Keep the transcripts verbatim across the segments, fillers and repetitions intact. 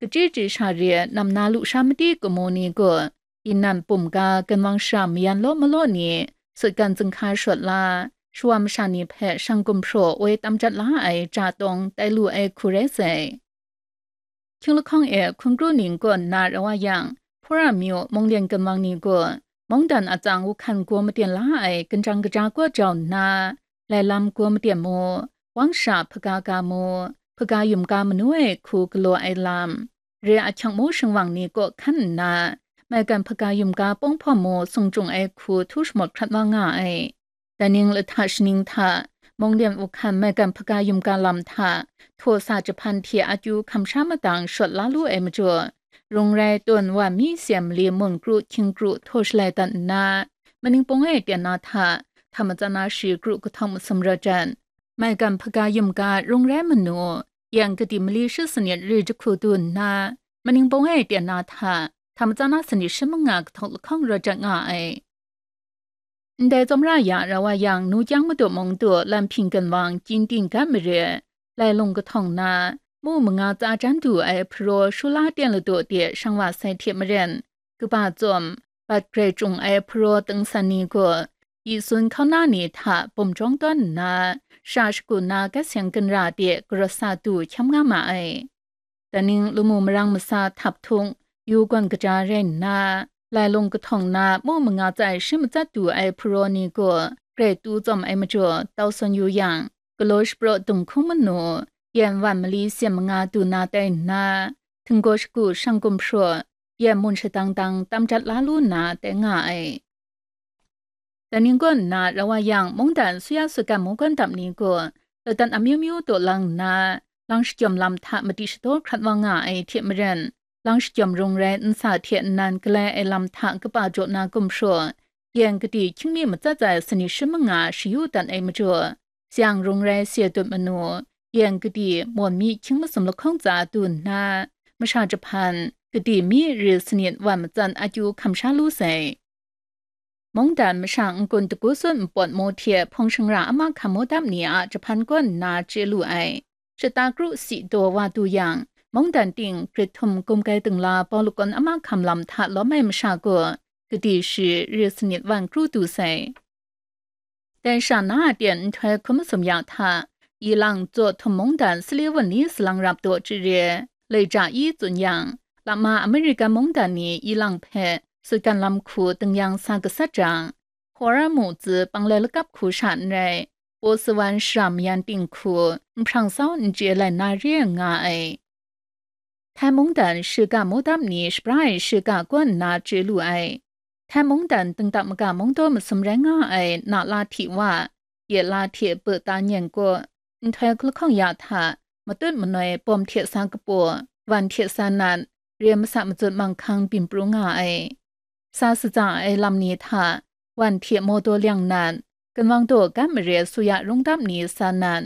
Kachyi chyi sha re nam na lusha madi kamu ni gaw, inan pum ga ganwang shara mayan law malaw ni, sutgan zinghka shawt la, shawa masha ni hpe shang gumhpraw woi tam jat la ai ja tawng tai lu ai hku rai sai. Hkying lahkawng e hkun kru ning kaw nna rau wa yang, Hpura myu munglen ganwang ni gaw, mungdan atsang wuhkan gaw maten la ai, ganjang kaja kaw jau nna, lai lam gaw maten mu, wang sha hpaga ga mu, hpaga yum ga manu ai hku galaw ai lam, re ahkyang mu shingwang ni kaw hkan nna, maigan hpaga yum ga pawng hpawm mu sung chyung ai hku htu shamawt hkrat wa nga ai. Daning lahta shaning hta, munglen wuhkan maigan hpaga yum ga lam hta, htaw sa jahpan hte akyu hkam sha madang shawt la lu ai majaw, rung rai tawn wa mi seng mali mun kru hkying kru htaw shalai dat nna, maning pawng e ten na hta, hta matsan na shi kru kahtawng masum rawt jan, maigan hpaga yum ga rung rai manu, yang kadi mali shi sanit ri jahku du nna, maning pawng e ten na hta, hta matsan na sanit shi manga kahtawng lahkawng rawt jat nga ai. Ndai tsawmra ya rau wa yang, nu kyang madu mung du lam hping ganwang, kyin ting gat mare, lai lung kahtawng na, mu manga tsa jan du ai hparaw shula ten ladu de shang wa sai hte maren, kaba tsawm, bat grai chyung ai hparaw tengsan ni gaw, yi sun hkauna ni hta bum jawng tawn nna, sha shagu na gat seng ginra de garawt sa du hkyam nga ma ai. Daning lamu marang masa htap htung, yu gawn kaja rai nna, lai lung kahtawng na mu manga tsai shi matsat du ai hparaw ni gaw grai tu tsawm ai majaw tau sawn yu yang, galaw shapraw dung hkung manu, yan wan mali seng manga du na tai nna, htinggaw shagu shang gumhpraw, yan mun shadang dang tam jat la lu nna tai nga ai. Daning kaw nna rau wa yang, mungdan suya sutgan mungkan dap ni gaw, ladan amyu myu taw lang nna, lang shajawm lam hta madi shadaw hkrat wa nga ai hte maren, lang shajawm rung rai nsa hte nnan galai ai lam hta kaba jaw na gumhpraw, yan kadi hkying mi matsat ai sanit shi manga shayu dat ai majaw, tseng rung rai se dut manu, yan kadi mawn mi hkying masum lahkawng tsa du nna, masha jahpan, kadi mi ri sanit wan matsat akyu hkam sha lu sai. Mungdan masha n-gun dagu sun npawt mu hte hpawng shangra ama hkam mu dam ni a jahpan kaw nna chye lu ai. Shata kru si daw wa du yang, mungdan ting grit htum gumgai dingla bau lakawn ama hkam lam hta lawm ai masha gaw, kadi shi ri sanit wan kru du sai. Dai sha na a ten nhtoi hkun masum ya hta, ilang tsaw htum mungdan sali wun ni salang rap daw chye re, lai ja i tsun yang, lama Amerika mungdan ni ilang hpe sutgan lam hku tingnyang sa gasat jang, Hora mu tsi panglai lakap hku sha n rai, Paw Sawan shara mayan ting hku nhprang sau n chye lai na re nga ai. Thai mungdan shiga mudam ni shabra ai shiga kaw nna chye lu ai. Thai mungdan dingdang maga mungdaw masum rai nga ai na la hti wa, ye la hte beta nyen kaw, nhtoi hkun lahkawng ya hta, matut manoi bawm hte sa kapaw, wan hte sa nat, re masa mazut manghkang byin pru nga ai. Sa satsa ai lam ni hta, wan hte mawdaw liang nat, ginwang daw gat mare suya rungdam ni sa nat,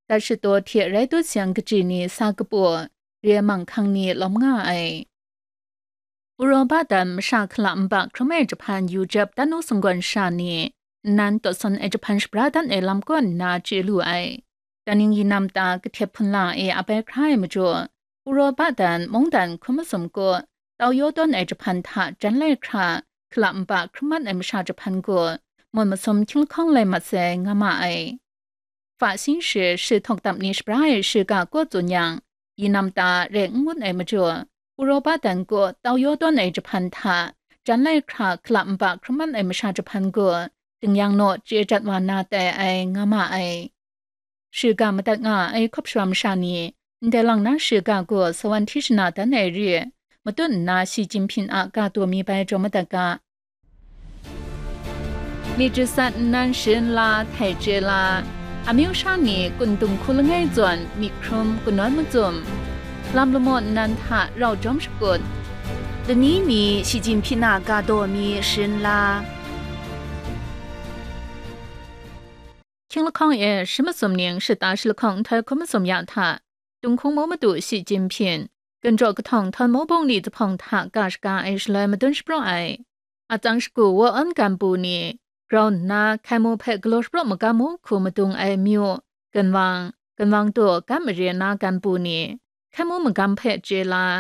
dat shadaw hte rai dut seng kaji ni sa kapaw, re manghkang ni lawm nga ai. Uropa dan masha hkala nba hkrum ai jahpan yu jep dan nu sunggawn sha ni, nnan tawt sawn ai jahpan shabra dan ai lam kaw nna chye lu ai. Daning yinam ta kahtep hpunla e ap ai hkra ai majaw, Uropa dan mungdan hkun masum kaw, tau yaw tawn ai jahpan hta jan lai hkra, hkala nba hkrum mat ai masha jahpan gaw, mun masum hkying lahkawng lai mat sai nga ma ai. Fa sing she shi htawk dap ni shabra ai shiga kaw tsun yang, yinam ta rai n ngut ai majaw, Uropa dan kaw tau yaw tawn ai jahpan hta, jan lai hkra hkala nba hkrum mat ai masha jahpan gaw, dingyang naw chye jat wa na tai ai nga ma ai. Shiga madat nga ai hkawp shara masha ni, ndai lang na shiga gaw sawan hti shana dan ai re, matut nna Shi Jinping a ga daw mi bai jaw madat ga. Myit jasat nnan sharin la, htai chye la, amyu sha ni kun dung hku langai zawn myit hkrum kanawn macum, lam lamaw nnan hta rau jawm shakut, lani ni Shi Jinping a ga daw mi sharin la. Hkying lahkawng e shi masum ning shata shi lahkawng nhtoi hkun masum ya hta, Tunghkung mu madu Shi Jinping, ginjaw kahtawng htawn mu bungli zuphpawng hta ga shaga ai shaloi madun shapraw ai. Atsang shagu wa awn ganbu ni, grau nna hkai mu hpe galaw shapraw magam mu hku madung ai myu, ginwang, ginwang daw gat mare na ganbu ni, hkai mu magam hpe chye la,